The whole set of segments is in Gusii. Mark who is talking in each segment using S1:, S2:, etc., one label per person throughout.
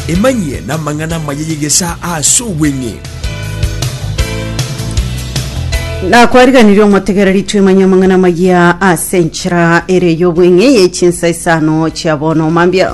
S1: Emanyie namang'ana amaya y'egesaa ase obweng'e.
S2: Nakwariganirie omotegereri twemanye amang'ana amaya ase enchera ere y'obweng'e ye chinsa isano chia bono mambia.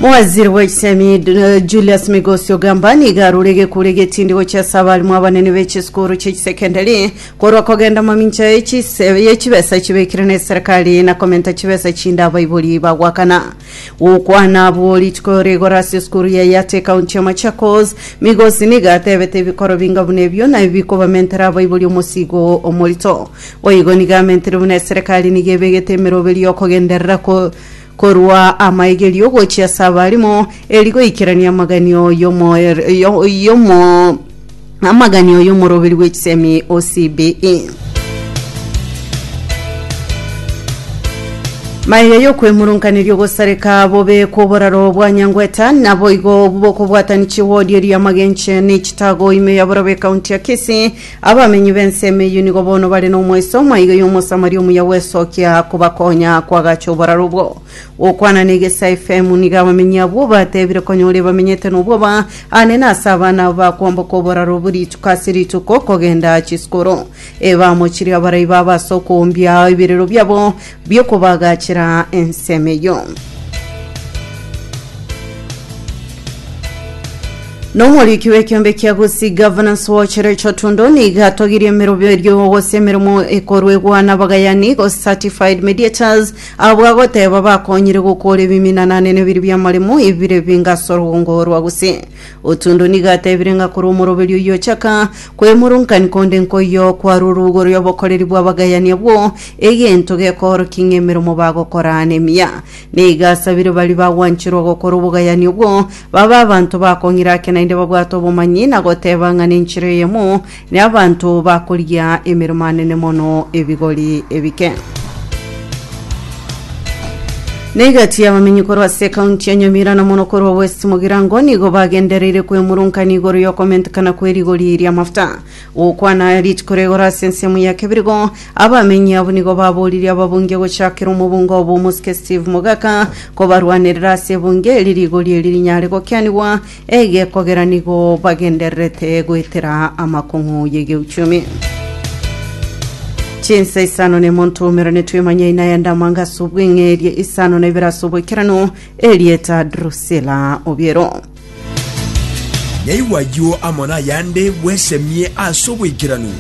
S2: Mowaziri bw'echisemi eh, Julius Migosi Ogamba nigo arure egekure egetindi gochia ase abarimu abanene be chisukuru chie chisekendari Korwa kogenda mamincha ye chise- ye chibesa chibekire ne serikali na komenta chibesa chinde abaibori bagwakana. Gokwana abwo rituko rigoro ase esukuru ya Yate ekaunti ya Machakos, Migosi nigo atebete ebikoro binga buna ebio nabio bikobamentera abaibori omosigo omorito. Boigo nigo amentire buna eserekari nigo ebegete emeroberi yokogenderera ko korwa amaigerio gochia ase abarimu eri goikerania amaganio yomo yomo Amaganio y'omoroberi bwe chisemi o CBE. Maega y'okwemurunkaneria ogosareka bobe kw'oboraro bwa Nyangweta naboigo bokobwatani chiwodi eria Magenche ne Chitago ime ya Borobe ekaunti ya Kisii abamenyi b'ensemo eyio nigo bono bare n'omoiso maiga y'omosamaria omuya gwesokia kobakonya kwagacha oboraro obwo. Gokwana n'Egesae FM nigo abamenyi abwo batebire konyora ebamenyete nobwoba Aane nase abana abo bakwamboka oboraro obwo rituko ase rituko kogenda chisukuru. Ebamochirie abarai babo ase okoombia ebirero biabo bi'okobagachera ensemo eyio. Nomoriki bw'ekiombe kia Gusii Governance Watch Rachel Tundo nigo atogirie emerobio erio gose emeremo ekorwegwa n'abagayani gose certified mediators abwo agoteba bakonyire gokora ebiminana nene biria bi'amaremo ebire binga ase orogongo rwa Gusii. Otundo nigo atebire ng'a korwa omoroberio oyio ochaka kwemurungani konde nkoiyo kwarwa orugoro y'obokoreri bw'abagayani abwo egento gekoorokia ng'a emeremo bagokora nemiya. Nigo asabire baria bagwancherwa gokora obogayani obwo babe abanto bakong'ira ake naende babwate obomanyi na goteba ng'a nenchera eyemo ne abanto bakorigia emeremo anene mono ebigori ebike. Negati y'abamenyi korwa ase ekaunti ya Nyamira na mono korwa West Mugirango nigo bagendereire kwemurungania igoro y'okomentekana kw'erigori ri'amafuta. Gokwana rituko rigoro ase ensemo ya Kebirigo, abamenyi abwo nigo baboririe ababunge gochakera omobunge obo omosike Steve Mogaka kobarwanerera ase ebunge eri rigori eri rinyare gokianigwa egekogera nigo bagendererete goetera amakong'u y'egeuchumi. Chinsa isano nemo ntumerane twemanye aina ya ndamanga ase obweng'e eria isano na ibere ase oboikeranu erieta Drusilla Obiero.
S1: Nyaigwa ayio amo nayande bwesemie ase oboikeranu.